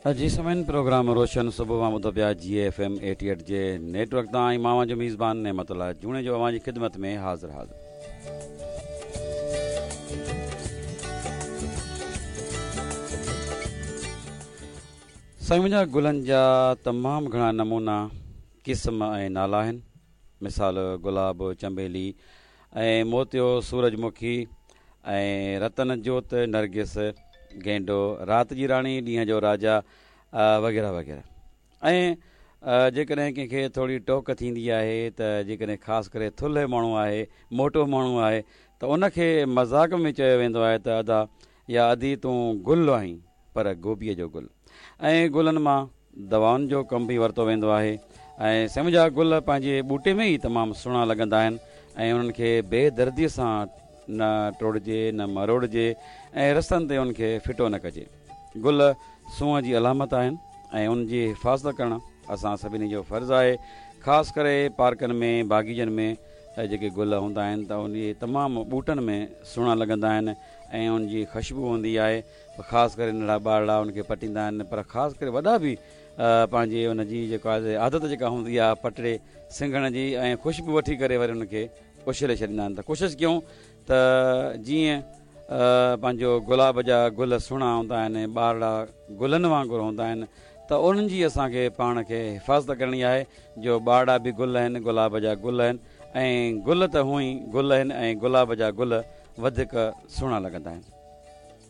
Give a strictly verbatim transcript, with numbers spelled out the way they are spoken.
جي سامعين، پروگرام روشن صبح اوهان ٻڌو پيا جي ايف ايم ايٽي ايٽ جي نيٽ ورڪ تان ۽ مان اوهان جو ميزبان نعمت الله جوڻيجو اوهان جي خدمت ۾ حاضر حاضر. سائين منهنجا، گلن جا تمام گهڻا نمونا، قسم ۽ نالا آهن. مثال گلاب، چنبيلي ۽ موتيو، سورج مکي ۽ رتن جوت، نرگس، گينڊو، رات جي راڻي، ڏينهن جو راجا وغيره وغيره. ۽ جيڪڏهن ڪنهن کي ٿوري ٽوڪ ٿيندي آهي ته جيڪڏهن خاص ڪري ٿلهي ماڻهو آهي، موٽو ماڻهو آهي ته ان کي مذاق ۾ چيو ويندو آهي ته ادا يا ادي تون گل آهين پر گوبيء جو گل. ۽ گلن مان دوائن جو ڪم به ورتو ويندو آهي. ۽ سائين منهنجا، گل پنهنجي ٻوٽي ۾ ئي تمام سهڻا لڳندا آهن ۽ انهن کي بي دردي سان نه ٽوڙجي نه مروڙجي ۽ رستن تي ان کي ڦٽو نه ڪجي. گل سونهن جي علامت آهن ۽ ان جي حفاظت ڪرڻ اسان سڀني جو فرض آهي. خاص ڪري پارڪن ۾ باغيچن ۾ جيڪي گل هوندا آهن ته اهي تمام ٻوٽن ۾ سهڻا لڳندا آهن ۽ ان جي خوشبو هوندي آهي. خاص ڪري ننڍڙا ٻارڙا ان کي پٽيندا آهن، پر خاص ڪري وڏا به پنهنجي ان جي جيڪا عادت جيڪا هوندي آهي پٽڙي سنگهڻ جي ۽ خوشبو وٺي ڪري وري ان کي اڇلي ڇڏيندا آهن. ته ڪوشش ڪيون ته جيئن پنهنجو گلاب جا گل سهڻا هوندا آهن، ٻارڙا گلن وانگر هوندا آهن، ته انهن جي اسان کي پاڻ کي حفاظت ڪرڻي آهي، جو ٻارڙا به گل آهن، گلاب جا گل آهن ۽ گل ته هونئن ئي گل آهن ۽ گلاب جا گل وڌيڪ سهڻا لڳندا آهن.